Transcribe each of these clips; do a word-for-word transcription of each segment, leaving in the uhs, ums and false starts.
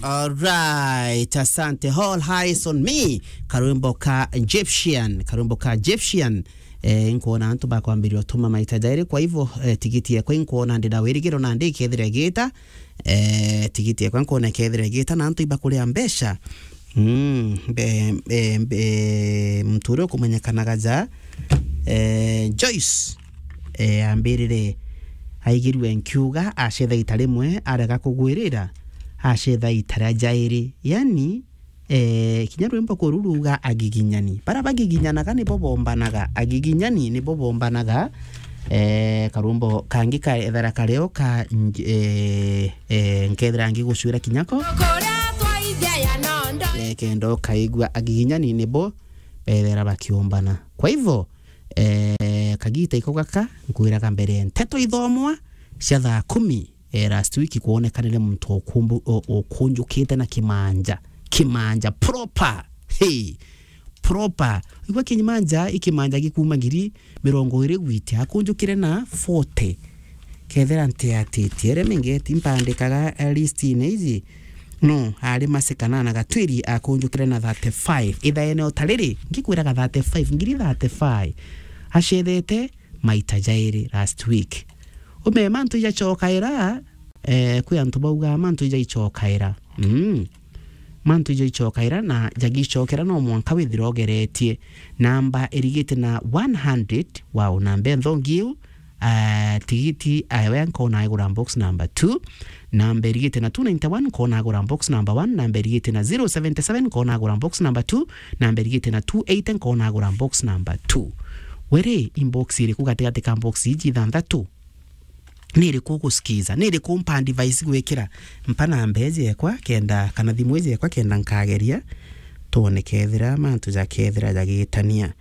Alright, asante. All eyes on me. Karwimbo ka Egyptian, karwimbo ka Egyptian. Eh, nkuona antu bakwambiria utuma maita jairi, kwa hivyo, eh, tigiti yakwa nkuona ndi na wirigiro na ndi ikethira igita. Eh, tigiti yakwa nkuona ikethira igita na antu ibakuria mbeca. Mm, mbe, mbe, mbe, muntu uria ukumenyekanaga ja, eh, Joyce, eh, ambirire aigirue nkiuga, acetha ita rimwe, arega kugwirira, acetha ita ria jairi. Yani, eh, kinya rwimbo kuru ruuga agiginyani. Bara bagiginyanaga nibo bombanaga. Agiginyani nibo bombanaga. Eh, karwimbo kangi ka ethera kareo ka nj-, eh, eh, nkethira ngigucwira kinya ko. Eh, kenda ukaigua agiginyani nibo bethera bakiombana. Kwa hivyo, eh, kagita iko gaka, nkwiraga mbere nteto ithomwa cia thaa kumi, eh, last week kwonekanire muntu ukumbu-, u-, ukunjukite na kimanja. Kimanja proper. Hey, proper. Igua kimanja, i kimanja gikuma ngiri mirongo iri gwite, akunjukire na forty. Kethira ntiatitie, ere mingeti mpandikaga, eh, list-ini iji. No, ari Masika na Gatwiri akunjukire na thirty-five. Ithaene o ta riri, ngikwiraga thirty-five, ngiri thirty-five. Acethete maita jairi last week. Ume mantu ijacokaira, eh, kwi antu bauga mantu ijaicokaira. Mm. Mantu ijaicokaira na jagicokera no mwanka withira ugeretie. Namba irigite na one hundred, wow, namba enthongi iu, ah, tigiti, ah, we nkona agura box number two. Namba irigite na two ninety-one, nkona agura box number one. Namba irigite na zero seventy-seven, nkona agura box number two. Namba irigite na two eighty, nkona agura box number two. Were, inbox iriku gatigati ka box iji ithanthatu? Ni iriku ugusikiza? Ni iriku mpa advice gwikira? Mpa namba iji ekwa kenda, kana thimu iji ekwa kenda nkageria, twone kethira mantu jakethira jagitania.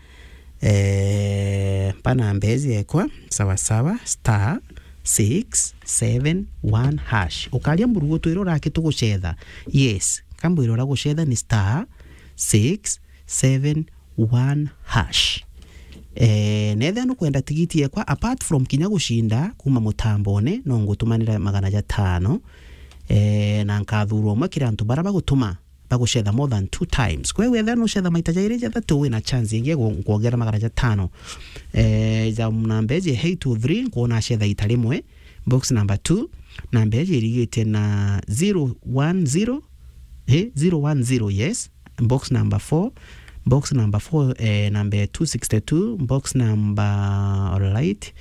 Eh, mpa namba iji ekwa, sawa sawa, star six seven one hash. Ukaria mburugutu iria uraki tugucetha. Yes, kambwira uria gucetha ni star six seven one hash. Eh, nethia nukwenda tigiti ekwa, apart from kinya gucinda kuma mutambone, no ngutumanira magana jatano. Eh, na nkathurwa umwe kiri antu bara bagutuma, bagucetha more than two times. Kwa hiyo wethia nucetha maita jairi jathatu, wina chance ingi ya gu-, kuongera magana jatano. Eh, ja namba iji eight two three, nkwona acetha ita rimwe, box number two, namba iji irigite na zero one zero, eh, zero one zero, yes. Box number four, box number four, eh, namba two sixty-two, box number, alright,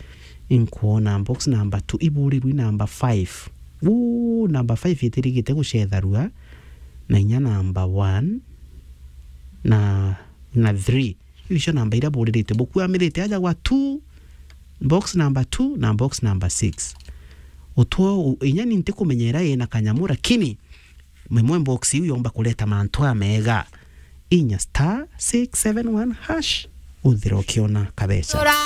inkwona box number two, iburirwe number five. Uu, number five itirigite gucetharua, na inya number one, na, na three. Icio namba iria buririte, bukuamirite aja gwa two, box number two na box number six. Utwo u-, inya ni ntikumenyera ina kanyamu, lakini imwe box iu yomba kureta mantu amega. Inya star six seven one hash, uthira ukiona kabeca.